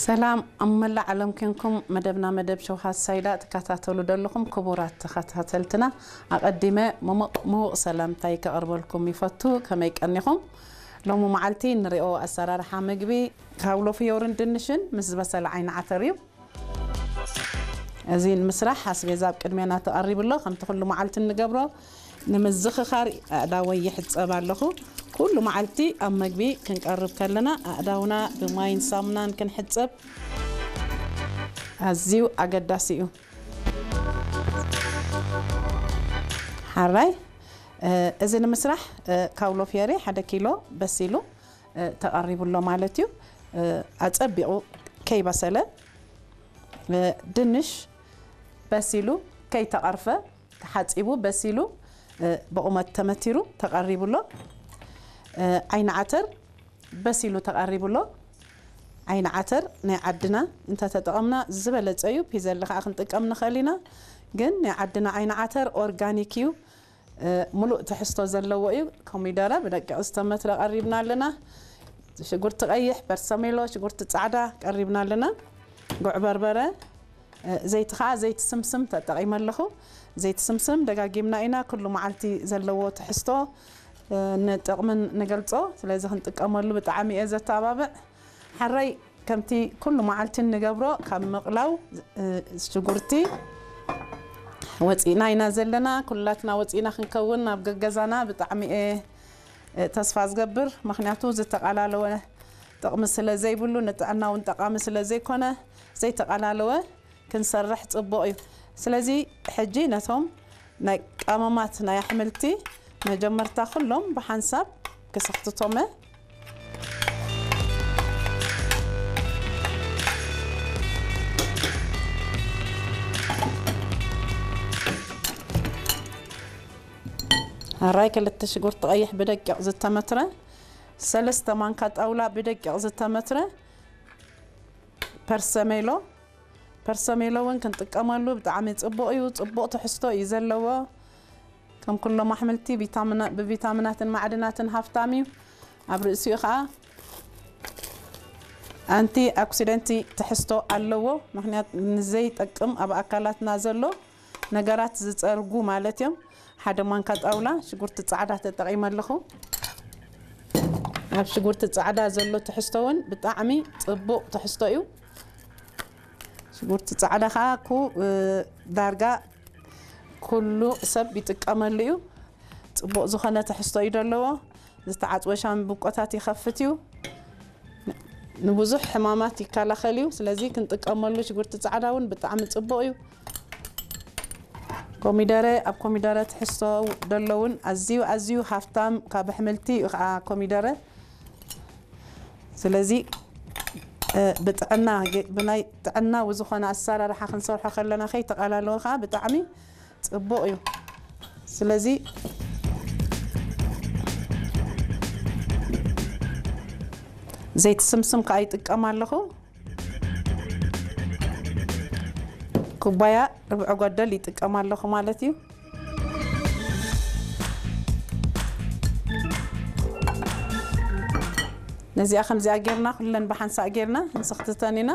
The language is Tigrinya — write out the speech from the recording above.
ሰላም ኣብ መላእ ዓለም ኮንኩም መደብና መደብ ሸውሃት ሳይዳ ትከታተሉ ዘለኹም ክቡራት ተኸታተልትና፣ ኣቐዲመ ምሙቕ ምዉቕ ሰላምታይ ከቕርበልኩም ይፈቱ። ከመይ ቀኒኹም? ሎሚ መዓልቲ ንሪኦ ኣሰራርሓ ምግቢ ካውሎ ፍዮርን ድንሽን ምስ ዝበሰለ ዓይኒ ዓተር እዩ። እዚ ንምስራሕ ኣስቤዛ ኣብ ቅድሜና ተቐሪቡ ኣሎ። ከምቲ ኩሉ መዓልቲ እንገብሮ ንምዝኽኻር ኣእዳወይ ይሕጸብ ኣለኹ። ኩሉ መዓልቲ ኣብ መግቢ ክንቀርብ ከለና ኣእዳውና ብማይን ሳሙናን ክንሕጸብ ኣዝዩ ኣገዳሲ እዩ። ሓራይ፣ እ፣ እዚ ንምስራሕ፣ እ፣ ካውሎ ፍየሪ ሓደ ኪሎ በሲሉ፣ እ፣ ተቐሪቡ ኣሎ ማለት እዩ። እ፣ ኣጸቢቑ ከይበሰለ፣ እ፣ ድንሽ በሲሉ ከይተቐርፈ ተሓጺቡ በሲሉ፣ እ፣ ብቑመት ተመቲሩ ተቐሪቡ ኣሎ። እ፣ ዓይኒ ዓተር በሲሉ ተቐሪቡ ኣሎ። ዓይኒ ዓተር ናይ ዓድና እንተተጠቐምና ዝበለጸ እዩ። ፒዘሊ ከኣ ክንጥቀም ንኽእል ኢና። ግን ናይ ዓድና ዓይኒ ዓተር ኦርጋኒክ እዩ። እ፣ ሙሉእ ትሕዝቶ ዘለዎ እዩ። ኮሚደረ ብደቂቕ ዝተመትረ ቀሪብና ኣለና። ሽጉርቲ ቀይሕ፣ በርሰሜሎ፣ ሽጉርቲ ጻዕዳ ቀሪብና ኣለና። ጉዕ በርበረ፣ እ፣ ዘይቲ ኸኣ ዘይቲ ስምስም ተጠቒመ ኣለኹ። ዘይቲ ስምስም ደጋጊምና ኢና ኩሉ መዓልቲ ዘለዎ ትሕዝቶ፣ እ፣ ንጥቕምን ንገልጾ። ስለዚ ክንጥቀመሉ ብጣዕሚ እየ ዘተባብዕ። ሓራይ ከምቲ ኩሉ መዓልቲ እንገብሮ ካብ ምቕላው፣ እ፣ ሽጉርቲ ወፂእና ኢና ዘለና። ኩላትና ወፂእና ክንከውን ናብ ገገዛና ብጣዕሚ እየ፣ እ፣ ተስፋ ዝገብር። ምኽንያቱ ዝተቓላለወ ጥቕሚ ስለ ዘይብሉ፣ ንጥዕና እውን ጠቓሚ ስለ ዘይኮነ፣ ዘይተቓላለወ ክንሰርሕ ጽቡቕ እዩ። ስለዚ ሕጂ ነቶም ናይ ቀመማት ናይ ኣሕምልቲ መጀመርታ ኩሎም ብሓንሳብ ክስኽትቶመ። ኣራይ ክልተ ሽጉርቲ ቀይሕ ብደቂቕ ዝተመትረ፣ ሰለስተ ማንካ ጣውላ ብደቂቕ ዝተመትረ ፐርሰሜሎ። ፐርሰሜሎ እውን ክንጥቀመሉ ብጣዕሚ ጽቡቕ እዩ። ጽቡቕ ትሕዝቶ እዩ ዘለዎ። ከም ኩሎም ኣሕምልቲ ቪታሚና-፣ ብቪታሚናትን ማዕድናትን ሃፍታም እዩ። ኣብ ርእሲኡ ኸኣ ኣንቲ ኦክሲደንቲ ትሕዝቶ ኣለዎ። ምኽንያት ንዘይጠቅም ኣብ ኣካላትና ዘሎ ነገራት ዝጸርጉ ማለት እዮም። ሓደ ማንካ ጣውላ ሽጉርቲ ጻዕዳ ተጠቒመ ኣለኹ። ኣብ ሽጉርቲ ጻዕዳ ዘሎ ትሕዝቶ እውን ብጣዕሚ ጽቡቕ ትሕዝቶ እዩ። ሽጉርቲ ጻዕዳ ኸኣ ኩ-፣ እ፣ ዳርጋ ኩሉ ሰብ ይጥቀመሉ እዩ። ጽቡቕ ዝኾነ ትሕዝቶ እዩ ዘለዎ። ዝተዓጽወ ሻምብቆታት ይኸፍት እዩ። ንብዙሕ ሕማማት ይከላኸል እዩ። ስለዚ ክንጥቀመሉ ሽጉርቲ ጻዕዳ እውን ብጣዕሚ ጽቡቕ እዩ። ኮሚደረ፣ ኣብ ኮሚደረ ትሕዝቶ ዘለውን ኣዝዩ፣ ኣዝዩ ሃፍታም ካብ ኣሕምልቲ እዩ ኸዓ ኮሚደረ። ስለዚ፣ እ፣ ብጥዕና፣ ገ-፣ ብናይ ጥዕናዊ ዝኾነ ኣሰራርሓ ክንሰርሖ ከለና ከይተቓላለወ ኸዓ ብጣዕሚ ጽቡቕ እዩ። ስለዚ ዘይቲ ስምስም ከኣ ይጥቀም ኣለኹ። ኩባያ ርብዒ ጎደል ይጥቀም ኣለኹ ማለት እዩ። ነዚኣ ከምዚኣ ጌርና፣ ኩለን ብሓንሳእ ጌርና ንስኽትተን ኢና።